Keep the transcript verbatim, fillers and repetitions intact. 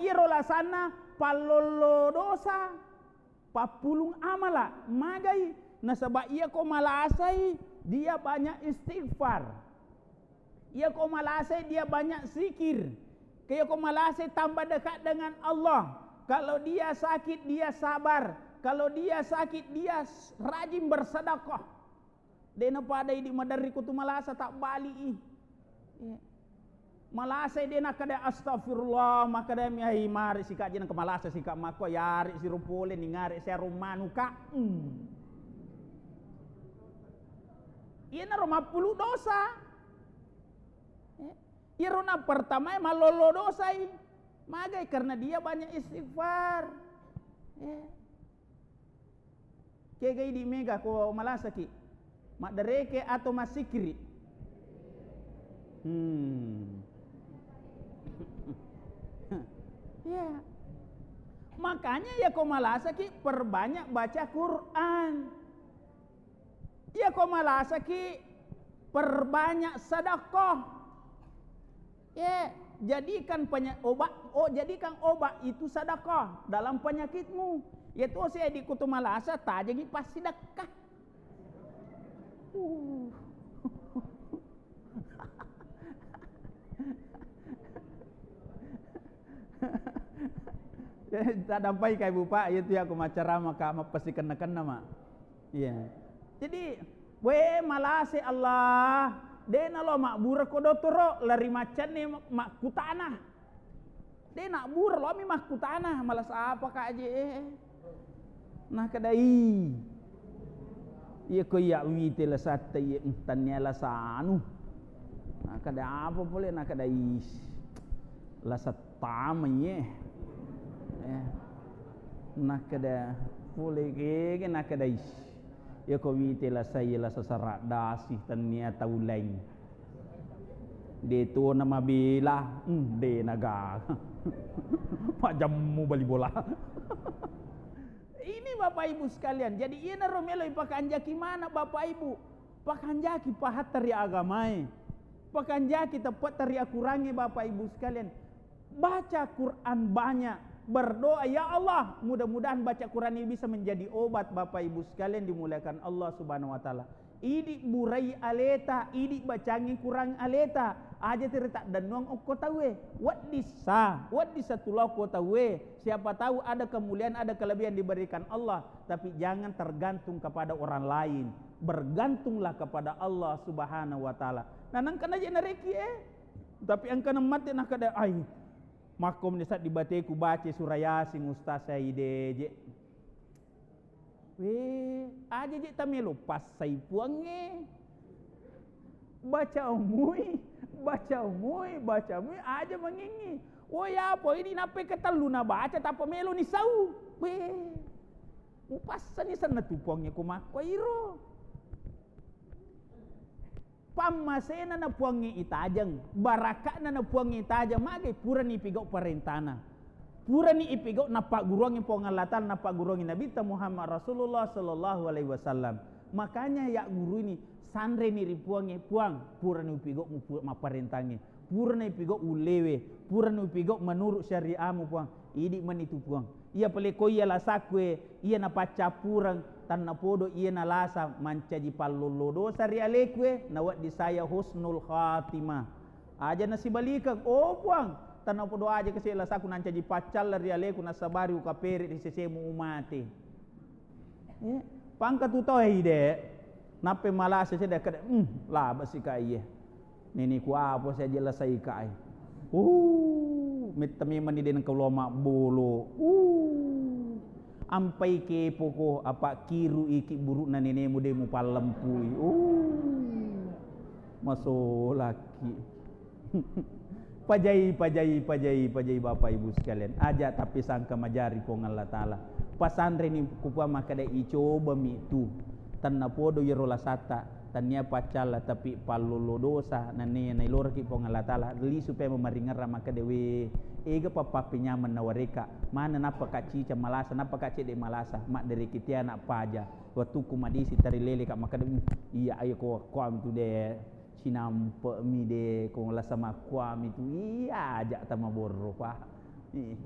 Iyaro lasanna pallollo dosa, pappulung amala, magai? Nasaba iyako malasai, dia banyak istighfar. Iyako malasai, dia banyak zikir. Iyako malasai, tambah dekat dengan Allah. Kalau dia sakit, dia sabar. Kalau dia sakit, dia s-, rajin bersedekah. De' napada idi' maderri ko tu malasa, tabbali'i. Iya. Malasai de' nakkeda, "Astagfirullah," makkeda mi, "Ai, mari sika' je nengka malasa sika' makko, yari siro pole ningare siaro manuka." Hmm. Iyanaro mappulu dosa. Eh, iyaro na pertamae malollo dosai. Magai? Karena dia banyak istighfar. Eh. Kega idi' mega ko malasaki? Maddereke atau massikiri? Hmm. Ya. Makanya ya ko malasaki perbanyak baca Quran. Iya ko malasaki perbanyak sedekah. Ya, jadikan penya-, obat, oh, jadikan obat itu sedekah dalam penyakitmu. Ya tuh saya di kutu malasa tajengi pas sedekah. Uh. Tadampai kai Bu Pak, itu ya aku macarama ka mappasikenna-kenna ma. Iya. Jadi, we malase Allah, de' nalo mabbura ko dotoro, lari maccanne makkutana. De' nabbura, lomi makkutana, malasa apa ka je? Nakadai, iya ko iya wite lasatta iya, mm, tannia lasanu. Nakada apa pole? Nakadai, lasa tama iye. Eh. Nakada pole kege, nakadai, iya ko wite lasa iya lasa sara' dasi, tannia tau laing. De' tuona mabela, hmm, de' naga. Majammu bali bola. Ini Bapak Ibu sekalian, jadi iyanaro melo ipakanjaki mana Bapak Ibu. Pakanjaki pahatta ri agamae. Pakanjaki teppetta ri akurangnge Bapak Ibu sekalian. Baca Quran banyak, berdoa, "Ya Allah, mudah-mudahan baca Quran ini bisa menjadi obat." Bapak Ibu sekalian dimuliakan Allah Subhanahu wa Ta'ala. Idi' burai aleta, idi' bacangi Quran aleta, aja tiri taddennuang okko tauwe. Weddissa, weddissa tulao okko tauwe. Siapa tahu ada kemuliaan, ada kelebihan diberikan Allah, tapi jangan tergantung kepada orang lain. Bergantunglah kepada Allah Subhanahu wa Ta'ala. Nah, nangkana je nareki, eh. Tapi engkana mate nakada, ai, makko mendesak di bateku baca surah Yasin, Ustaz, saya ide je. Weh, aja je tamelo passai Puangnge. Baca umui, baca umui, baca umui, aja mangingi. Woi, apa ini nappe ketellu nabaca, tappa melo ni sau. Weh, upassani senna tu Puangnge ko makko iro. Pammasena na Puangnge itajeng, baraka'na na Puangnge itajeng, magai purani ipigau parentana. Purani ipigau nappagguruangngi Puang Allah Ta'ala, nappagguruangngi Nabitta Muhammad Rasulullah sallallahu alaihi wasallam. Makanya ya guru ini, sanreni ri Puangnge, "Puang, purani upigau mu pu-, mapparentangnge." Purana ipigau ullewe, purana ipigau menurut syariamu, Puang. Idi mani tu, Puang. Iya pale ko iya lasakku e, iya napaccappureng, tannapodo iya nalasa mancaji pallollo dosa ri aleku e, nawedding saya husnul khatimah. Aja nasibalikeng, oh, Puang, tannapodo aja kasi lasakku nancaji paccalla ri aleku, nasabari ukapere ri sesemu umate. Eh, pangka tu tau, eh, ide. Nappe malasa sedde kada, hmm, laba sika iye. Neneku apa saja lasai kai. Uh, metta memang ni de nengka lo mabbolo. Uh, ampai kepo ko, apa kiru iki burukna nenemu de mupallempui. Uh, masolaki. Pajai, pajai, pajai, pajai, Bapak Ibu sekalian. Aja tapi sangka majari Puang Allah Ta'ala. Pasanreni kupua makkeda, icobami tu. Tannapodo iyaro lasatta, tannia paccalla, tapi pallolo dosa, nannia nailoraki Puang Allah Ta'ala. Lisu pe mamaringerra makkeda, we, ega pappappenyameng nawareka. Mana nappa ka cica malasa, nappa ka cedde malasa. Maddereki tiana paja. Wettukku madisi tarilele ka makkeda, "Hmm, iya ayo ko kuami tu de." Cinampe'mi de, ko lasa makkuami tu, iya aja tamaborro, Pak. Ih, de